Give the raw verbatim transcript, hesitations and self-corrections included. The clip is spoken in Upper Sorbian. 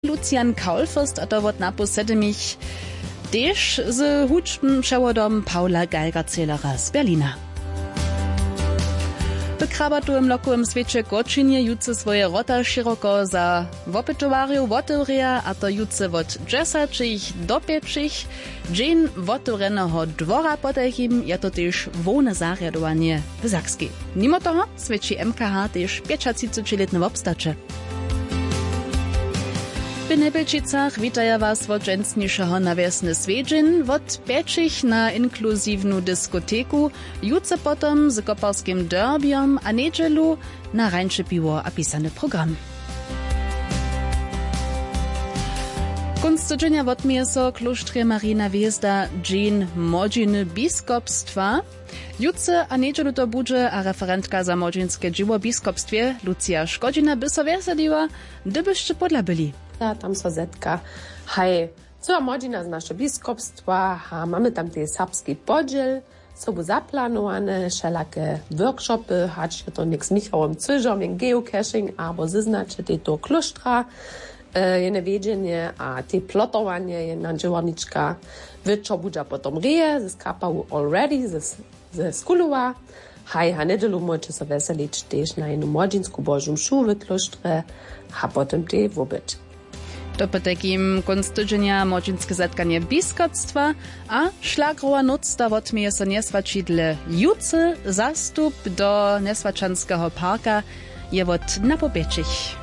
Lucian Kaulfürst, a to wot napoł sedmich, tež z hudźbnym přewodom Paula Geigerzählera z Berlina. W krabatowym lokowym swěće w Kočinje jutře swoje wrota šěroko za wopytowarjow wotewrěja, a to jutře wot dźesaćich do pjećich. Dźeń wotewrjeneho dwora, potajkim je to tež hłowne zarjadowanje w Sakskej. Nimo toho swěći M K H tež pjećatřicećilětne wobstaće. W Njebjelčicach witaja was wot dźensnišeho na wjesny swjedźeń wot pjećich na inkluziwnu diskoteku, jutře potom z koparskim derbijom a njedźelu na rańše piwo a pisany program. Kónc tydźenja wotměje so w klóštrje Marijina hwězda Dźeń młodźiny biskopstwa. Jutře a njedźelu to budźe a referentka za młodźinske dźěło w biskopstwje Lucija Škodźina by so wjeseliła, hdybyšće pódla byli. A tam so zetka, haj, cyła młodźina z našeho biskopstwa a mamy tam tej serbski podźěl sobu zaplanowane, wšelake workshopy, hač je to něk z Michałom Cyžom, jen geocaching abo zeznaće tej toho klóštra, e, jene wjedźenje a tej plotowanje, jedna dźěłarnička wječor budźa potom reje ze skapawu Already ze, ze Skulowa. Haj, a njedźelu móžeće so wjeselić tež na jednu młodźinsku Božu mšu w klóštrje a potom tej woběd. To potajkim kónc tydźenja młodźinske zetkanje biskopstwa a šlagrowa nóc da wotměje so njeswaćidle jutře zastup do njeswaćanskeho parka je wot napoł pjećich.